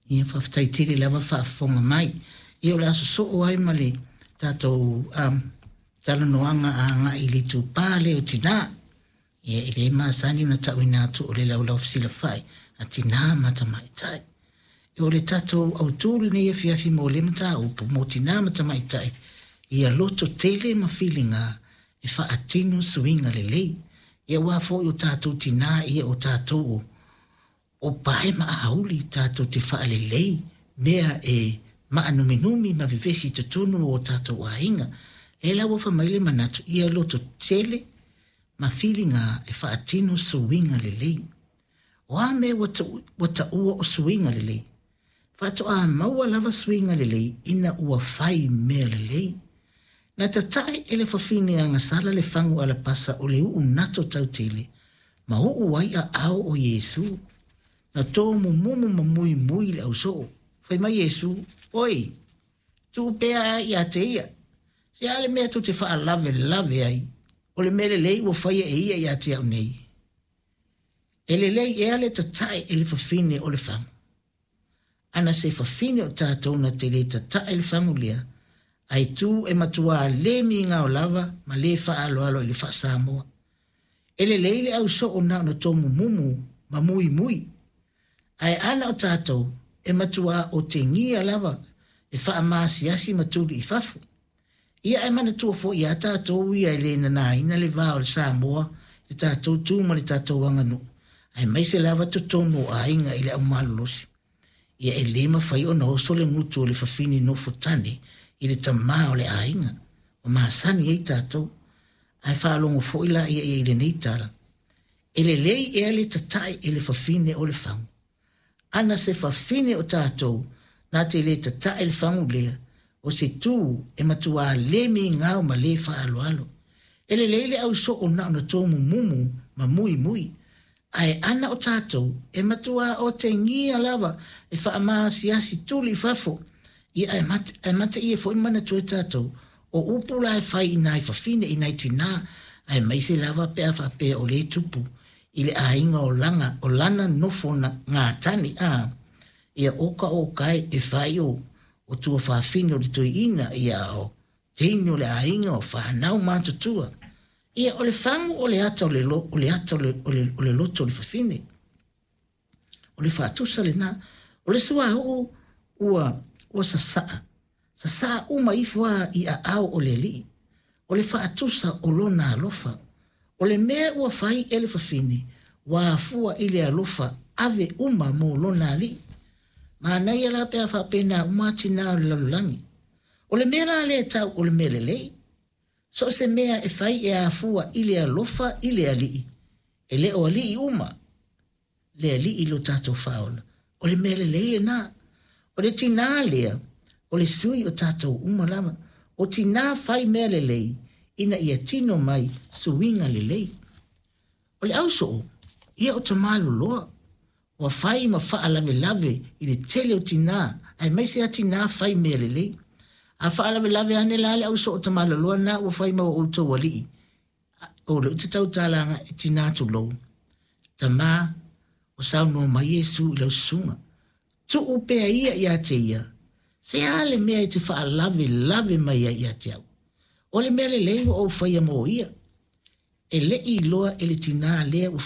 Ia faafetai tele lava faafofoga mai. Ia o le a sosoo ai ma le tatou talanoaga agai i le itupa lea o tinā. Ia e le masani ona ta'uina atu o le laulau fesilafai a tinā ma tamaitai. O le tatou autū lenei afiafi mo lea mataupu mo tinā ma tamaitai, ia loto tele ma filiga e faatino suiga lelei. Ia aua foi o tatou tinā ia o tatou o pae ma auli tatou te faalelei mea e maanuminumi ma vevesi i totonu o tatou aiga. Lea la ua fai mai le manatu, ia loto tele ma filiga e faatino suiga lelei. O a mea ua taua o suiga lelei? Faatoa maua lava suiga lelei ina ua fai mea lelei. Na tatae e le fafine agasala le fagu alapasa o le uu nato tautele ma uu ai aao o Iesu. Na tomumumu ma muimui le ausoo. Fai mai Iesu, Oi, tuu pea ia te ia. Se a le mea tou te faalavelave ai, o le mea lelei ua faia e ia ia te au nei. E lelei ea le tatae e le fafine o le fagu? Ana se fafine o tatou na te le tatae le fagu lea, ae tu e matuā le migao lava ma le faaaloalo i le faa-Samoa. E lelei le ausoo na ona tomumumu ma muimui, ae ana o tatou e matuā otegia lava e faamaasiasi ma tuli i fafo. Ia ae manatua foi ia tatou ia e le nanaina le va o le Samoa, le tatou tu ma le tatou aganuu, aemaise lava totonu o aiga i le aumalolosi. Ia e le mafai ona oso le gutu o le fafine nofo tane i le tamā o le aiga, ua masani ai tatou. Ae faalogo foi laia ia i lenei tala, e lelei ea le tatae e le fafine o le fagu? Ana se fafine o tatou na te le tatae le fagu lea, o se tu e matuā le migao ma le faaaloalo. E lelei le ausoo na ona tomumumu ma muimui, ae ana o tatou e matuā otegia lava e faamaasiasi tuli i fafo. Ia ae ae mate ia foi manatua e tatou, o upu la e fai i nai fafine i nai tinā, aemaise lava pe a faapea o lea e tupu i le aiga o lana, o lana nofo gatani a. Ia oka oka e e fai o tuafafine o le toeaina, ia o teine o le aiga o fanau matutua. Ia o le fagu o le ata o le, o le ata o le, o le, o le loto o le fafine. O le faatusa lena. O le suauu ua sasaa. Sasaa uma ifo lava i aao o le alii. O le faatusa o lona alofa. O le mea ua fai e le fafine, ua afua i le alofa ave uma mo lona alii. Manaia la pe a faapena uma tinā o le lalolagi. O le mea la lea e tau o le mea lelei, so o se mea e fai e afua i le alofa i le alii, e le o alii uma, le alii i lo tatou faaola. O le mea lelei lena. O le tinā lea, o le sui o tatou uma lava. O tinā fai mea lelei, ina ia tino mai suiga lelei. O le ausoo, ia o tamaloloa, ua fai ma faalavelave i le tele o tinā, aemaise lava tinā fai mea lelei. A faalavelave ane la le ausoo tamaloloa lena ua fai ma o outou alii, o le te tautala e tinā tulou. Tamā, o saunoa mai Iesu i lau susuga. Tuu pea ia ia te ia, se a le mea e te faalavelave mai ai ia te au. O le mea lelei ua ou faia mo ia. E le i iloa e le tinā lea ua